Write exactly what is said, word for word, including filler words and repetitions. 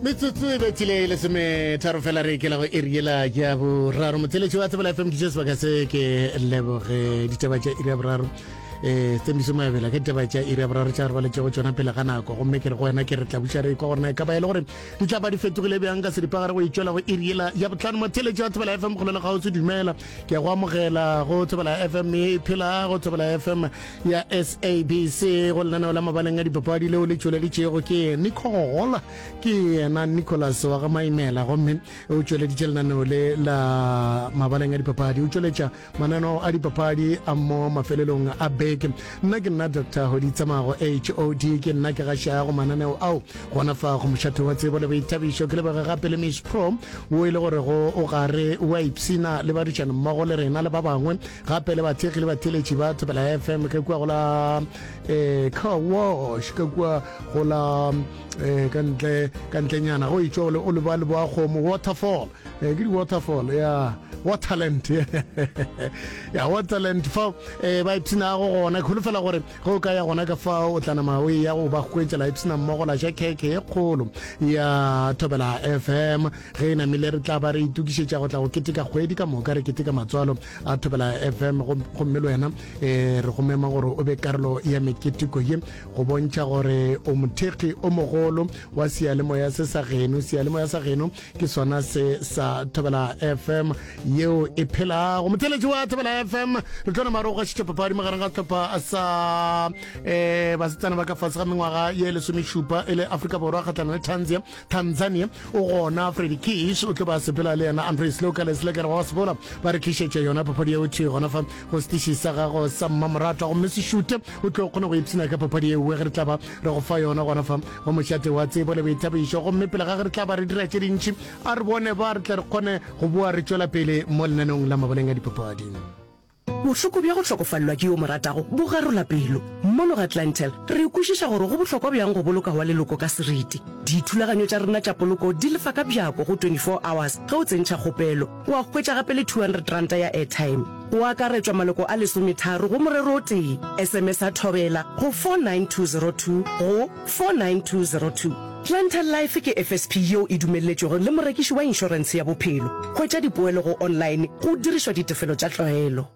Metsotso e bethile e lesometharo fela re ikela go iri yela ya boraro. Motheletši wa Thobela F M, ke tše sebaka se ke leboge ditaba tša iri ya boraro, um Tsembiso Moabela ka ditaba tša iri ya boraro tša re baletšego tšona pele ga nako. Gomme ke re go wena, ke re tla buša re kwa gorena e ka ba e le gore di tla ba di fetogile bjang ka seripagare go itšwela go iri yela ya botlhano. Motheletši wa Thobela F M, kgole le kgauswi, dumela, ke a go amogela go Thobela F M e phela, go Thobela F M ya S A B C, go lenaneo la Mabaleng a Dipapadi leo le tšweleditšego ke Nicole, ke yena Nicholas wa ga Maimela. Gomme o tšweleditše lenaneo le la Mabaleng a Dipapadi, o tšweletša mananeo a dipapadi a mo mafelelong a beke. Nna ke nna Doctor Hoditsamago, H O D, ke nna ke gašago mananeo ao gona fa go mošate wa tsebo le boithabišo. Ke lebege gape le Miss Pro o e le gore go o gare wa ipsina le badišane mmogo le rena le ba bangwe gape le bathekgi le batheletši ba Thobela F M ka kua go la um car wash, ka kua go la um ka ntle, ka ntlenyana go itšwa o leba leboa kgomo, waterfall, eh, ke di-waterfall ya Waterland, ya Waterland, fao um ba ipshinago gona. Ke holofela gore ge o ka ya gona ka fao o tla nama o ya go ba hwetša la ipshina mmogo, la ja keke ye kgolo ya Thobela F M. Ge e namile re tla ba re itokišetša go tla go keteka kgwedi ka moka, re keteka matswalo a Thobela F M. Gomme le wena um re go mema gore o be karolo ya meketeko ye go bontšha gore o mothekgi o mogolo wa seyalemoya se sa geno. Seyalemoya sa geno ke sona se sa Thobela F M yeo e phelago. Motheletši wa Thobela F M, re tlo nama re go gašitša papadi magareng ga sehlopha sa um basetsana ba ka fase ga mengwaga ye lesomešupa e le Afrika Borwa kgatlhanong le Tanzania. Tanzania o gona Freddy Kish, o tlo ba sepela le yena Andre Slokales le kere wa sebola ba re tlišetša yona papadi yeo thwi gona fa go setiši sa gago sa mmamoratwa. Gomme se šute, o tlo kgona go ipshina ka papadi yeo ge re tla ba re go fa yona gona fa go mošate wa tsebo le boithabišo. Gomme pele ga ge re tla ba re dira tše dintši, a re bone ba re tle re kgone go boa re tšwela pele mo lenaneong la Mabaleng a Dipapadi. Bohloko bja go hlokofalelwa ke yo mo ratago bo garola pelo. Mono ga Clientele re kwešiša gore go bohlokwa bjang go boloka wa leloko ka seriti. Dithulaganyo tša rena tša poloko di lefa ka bjako go twenty-four hours ge o tsentšha kgopelo. Wa hwetša gape le two hundred rand ya airtime. Go akaretšwa maloko a lesometharo go morero o tee. S M S a Thobela go four nine two zero two go four nine two zero two. Clientele Life ke F S P yeo e dumelletšwego le morekiši wa inšorentshe ya bophelo. Hwetša dipoelo go online go dirišwa ditefelo tša tlwaelo.